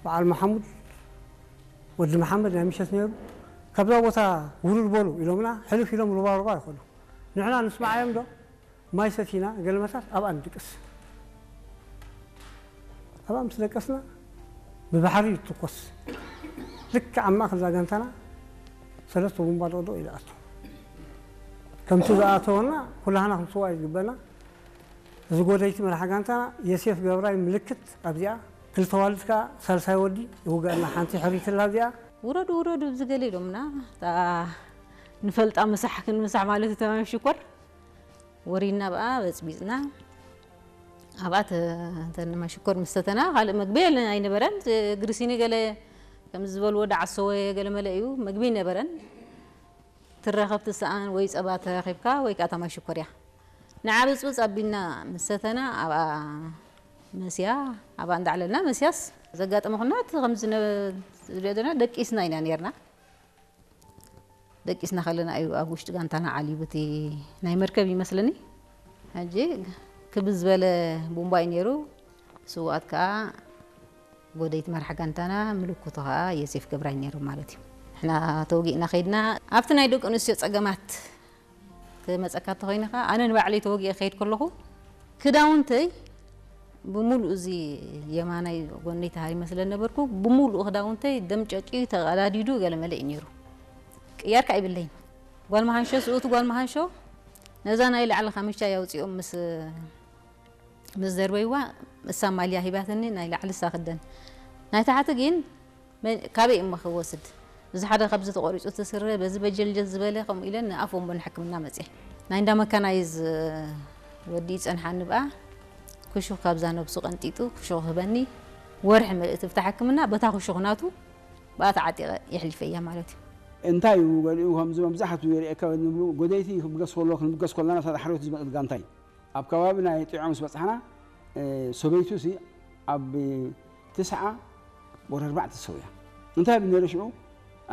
በዓል መሓሙድ ወዲ መሓመድ ናይ ምሸት ነይሩ። ካብዛ ቦታ ውርድ በሉ ኢሎምና፣ ሕልፍ ኢሎም ሩባ ሩባ ይኾኑ። ንሕና ንስማዓዮም ዶ? ማይ ሰቲና፣ ገለመታት ኣብኣ ንድቅስ። ኣብኣ ምስ ደቀስና፣ ብባሕሪ ይትኮስ። ልክዕ ኣብ ማእከል እዛ ጋንታና ሰለስተ ቡምባ ደቕደቕ ኢሉ ኣቶ። ከምቲ ዝኣተወና፣ ኩላህና ክንስዋ እዩ ዝግበና። እዚ ጎደይቲ መራሒ ጋንታና፣ የሴፍ ገብራይ ምልክት ኣብዚኣ፣ ክልተ ዋልድ ከኣ ሳልሳይ ወዲ ይውጋና፣ ሓንቲ ሕሪትላ ኣብዚኣ። ውረዱ፣ ውረዱ፣ ኣብዚ ገለ ኢሎምና። እታ ንፈልጣ ምሳሕ ክንምሳሕ ማለት እዩ፣ ተማም ሽኮር። ወሪድና ብኣ፣ በጽቢጽና። ኣብኣ ተ-፣ ተንማ ሽኮር ምስ ተተና፣ ካልእ መግቢ የለን፣ ኣይነበረን። ግሪሲኒ ገለ ከም ዝበልዎ፣ ዳዕሰወ ገለ መለ እዩ፣ መግቢ ኣይነበረን። ትረኸብ ትሰኣን ወይ ጸባ ተረኺብካ ወይ ከኣ ተማይ ሽኮር እያ። ንዓ ብጽብጽ ኣቢልና ምስ ሰተና፣ ኣብኣ መስያ፣ ኣብኣ እንዳዕለልና መስያስ፣ ዘጋጠመ ኩናት ከም ዝነ-፣ ዝረደና ደቂስና ኢና ነርና። ደቂስና ከለና እዩ ኣብ ውሽጢ ጋንታና ዓልዩ፣ በቲ ናይ መርከብ ይመስለኒ። ሕጂ ክብ ዝበለ ቡምባ እዩ ነይሩ። ስውኣት ከኣ ጎደይቲ መራሕ ጋንታና፣ ምልክቱ ከኣ ዮሴፍ ገብራይ ነይሩ ማለት እዩ። ንሕና ተወጊእና ከይድና፣ ኣብቲ ናይ ደቂ ኣንስትዮ ጸገማት ክመጸካ እንተኾይኑ ከኣ፣ ኣነ ንባዕለይ ተወጊኤ ክኸይድ ከለኹ፣ ክዳውንተይ ብምሉእ፣ እዚ የማናይ ጎነይ ተሃሪመ ስለ ነበርኩ፣ ብምሉእ ክዳውንተይ ደም ጨቂዩ ተቐዳዲዱ ገለመለ እዩ ነይሩ። ቅያር ከኣ ይብለይን። ጓል መሃንሾ፣ ስኡቲ ጓል መሃንሾ፣ ነዛ ናይ ላዕሊ ካምቻ ኣውጺኦም ምስ ምስ ደርበይዋ፣ እሳ ማልያ ሂባትኒ፣ ናይ ላዕሊ እሳ ክደን። ናይ ታሕቲ ግን መን-፣ ካበይ እሞ ክወስድ? እዚ ሓደ ካብዚ ተቖሪጹ እቲ ስረ፣ በዚ በጀልጀል ዝበለ፣ ከምኡ ኢለን ንኣፍ ወንቦ ንሕክምና መጽየ። ናይ እንዳ መካናይዝ ወዲ ይጸንሓኒ ብኣ፣ ክሹኽ ካብዛ ነብሱ ቀንጢጡ፣ ክሹኽ ክህበኒ፣ ወርሒ ምልእቲ ብታ ሕክምና፣ በታ ክሹኽ ናቱ፣ ብኣ ተዓጢቐ የሕሊፈያ ማለት እዩ። እንታይ እዩ ገሊኡ ከምዚ መብዛሕትኡ የርእየካ ንብሉ፣ ጎደይቲ ክብገስ ከሎ፣ ክንብገስ ከለና፣ ሳዳ ሓርዮት ዝመጽእ ጋንታ እዩ። ኣብ ከባቢ ናይ ጥዑያ ምስ በጻሕና፣ እ፣ ሰበይቱ ሲ ኣብ ትስዓ ወር ኣርባዕተ ሰውያ። እንታይ ይብል ነይሩ ሽዑ?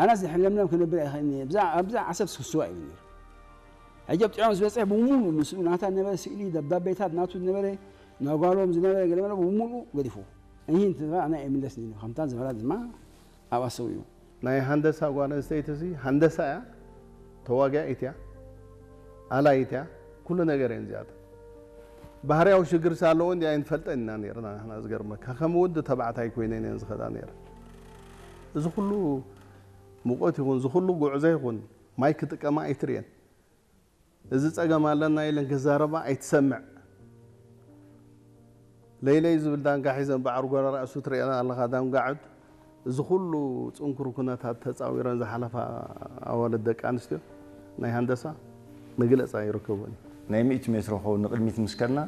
ኣናስ ድሕሪ ለምለም ክነብር ኣይኽእልን እየ። ብዛ-፣ ኣብዛ ዓሰብ ክስዋ ይብል ነይሩ። ሕጂ ኣብ ጥዑያ ምስ በጽሐ ብምሉእ ምስኡ ናታ ዝነበረ ስእሊ፣ ደብዳቤታት ናቱ ዝነበረ፣ ናይ ጓሎም ዝነበረ ገለ መለ ብምሉእ ገዲፉ። እሂ እንትበል ኣነ ኣይምለስን እየ። ከምታ ዝበላ ድማ ኣብኣ ሰው እዩ። ናይ ሃንደሳ ጓል ኣንስተይቲ እዚ ሃንደሳ እያ፣ ተዋጋኢት እያ፣ ኣላይት እያ፣ ኩሉ ነገር እየን እዚኣተን። ባህርያዊ ሽግር ሳ ኣለዎ እንዲ ኣይንፈልጠን ኢና ነይርና ንሕና። ዝገርመካ ከም ወዲ ተባዕታይ ኮይነን እየን ዝኸዳ ነይረን። እዚ ኩሉ ሙቐት ይኹን፣ እዚ ኩሉ ጉዕዞ ይኹን፣ ማይ ክጥቀማ ኣይትርእየን። እዚ ጸገም ኣለና ኢለን ክዛረባ ኣይትሰምዕ። ለይለይ ዝብል ዳንጋ ሒዘን ብዓርጎራ ርእሱ ትርእየና ኣለኻ፣ ዳንጋ ዑድ። እዚ ኩሉ ጽንኩር ኩነታት ተጻዊረን ዝሓለፋ ኣዋልድ ደቂ ኣንስትዮ ናይ ሃንደሳ መግለጺ ኣይርከቦን እዩ። ናይ ሚእቲ ሜትሮ ክኸውን ንቕድሚት ምስ ከድና፣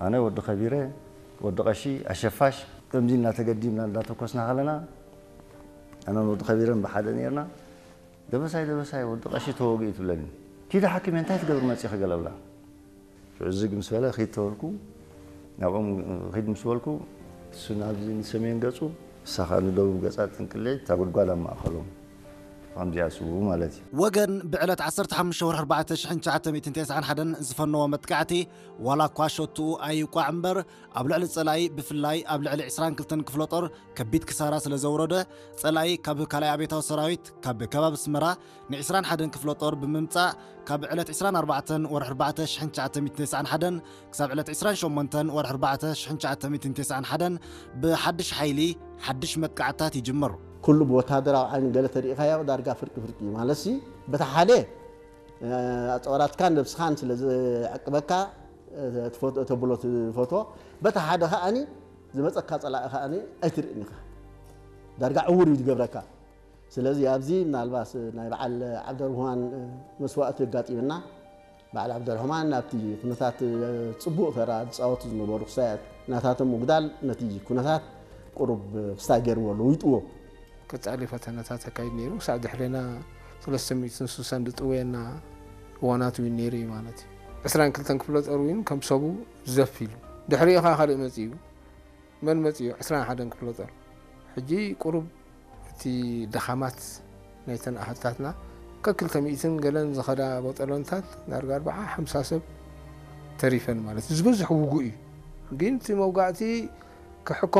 ኣነ፣ ወዲ ከቢረ፣ ወዲ ቀሺ፣ ኣሸፋሽ፣ ከምዚ ኢልና ተገዲምና እንዳተኮስና ከለና፣ ኣነን ወዲ ከቢረን ብሓደ ነይርና። "ደበሳይ፣ ደበሳይ፣ ወዲ ቀሺ ተወጊኡ" ትብለኒ። "ኪዲ ሓኪም፣ እንታይ ትገብር መጺኺ?" ገለ ብላ። ሽዑ ዝግ ምስ በለ፣ "ኺድ" ተበልኩ። ናብኦም ኺድ ምስ በልኩ፣ እሱ ናብዚ ንሰሜን ገጹ፣ እሳ ኸኣ ንደቡብ ገጻ ጥንቅሊዕ፣ እታ ጉድጓድ ኣብ ማእከሎም። ከምዚኣ ስውኡ ማለት እዩ። ወገን ብዕለት ዓሰርተ ሓሙሽተ ወርሒ ኣርባዕተ ሽሕን ትሽዓተ ሚእትን ተስዓን ሓደን ዝፈነዎ መጥቃዕቲ፣ ዋላ እኳ ሸትኡ ኣይውቃዕ እምበር፣ ኣብ ልዕሊ ጸላኢ፣ ብፍላይ ኣብ ልዕሊ ዕስራን ክልተን ክፍለ ጦር ከቢድ ክሳራ ስለ ዘውረደ፣ ጸላኢ ካብ ካልኣይ ኣብዮታዊ ሰራዊት ካብ ከባቢ ኣስመራ ን ዕስራን ሓደን ክፍለ ጦር ብምምጻእ፣ ካብ ዕለት ዕስራን ኣርባዕተን ወርሒ ኣርባዕተ ሽሕን ትሽዓተ ሚእትን ተስዓን ሓደን ክሳብ ዕለት ዕስራን ሸሞንተን ወርሒ ኣርባዕተ ሽሕን ትሽዓተ ሚእትን ተስዓን ሓደን ብሓድሽ ሓይሊ ሓድሽ መጥቃዕትታት ይጅምር። ኩሉ ብወታደራዊ ዓይኒ ገለ ተሪኢኻዮ ዳርጋ ፍርቂ ፍርቂ እዩ። ማለትሲ፣ በታ ሓደ፣ እ፣ ኣጽዋራትካን ነብስኻን ስለ ዝዕቅበካ፣ እ፣ ትፈት-፣ ተብሎ ትፈትዎ። በታ ሓደ ከኣኒ ዝመጸካ ጸላኢ ከኣኒ ኣይትርእን ኢኻ። ዳርጋ ዕዉር እዩ ዝገብረካ። ስለዚ ኣብዚ ምናልባት ናይ በዓል ዓብደርህማን መስዋእቲ ኣጋጢምና። በዓል ዓብደርህማን ኣብቲ ኩነታት ጽቡቕ ተራ ዝጻወቱ ዝነበሩ ክሳያት ናታቶም ምጉዳል ነቲ ኩነታት ቁሩብ ክስታይ ገይርዎ፣ ለዊጥዎ። ቀጻሊ ፈተነታት ኣካይድ ነይሩ። ክሳዕ ድሕሬና ሰለስተ ሚእትን ስሳን ዝጥወየና እዋናት እውን ነይሩ እዩ ማለት እዩ። ዕስራን ክልተን ክፍለ ጦር እውን ከም ሰቡ ዘፍ ኢሉ። ድሕሪኡ ኸኣ ካልእ መጺኡ። መን መጺኡ? ዕስራን ሓደን ክፍለ ጦር። ሕጂ ቁሩብ እቲ ድኻማት ናይተን ኣሃዱታትና፣ ከክልተ ሚእትን ገለን ዝኸዳ ቦጠሎንታት ዳርጋ ኣርብዓ ሓምሳ ሰብ ተሪፈን ማለት እዩ። ዝበዝሕ ውጉእ እዩ። ግን እቲ መውጋእቲ ክሕኮ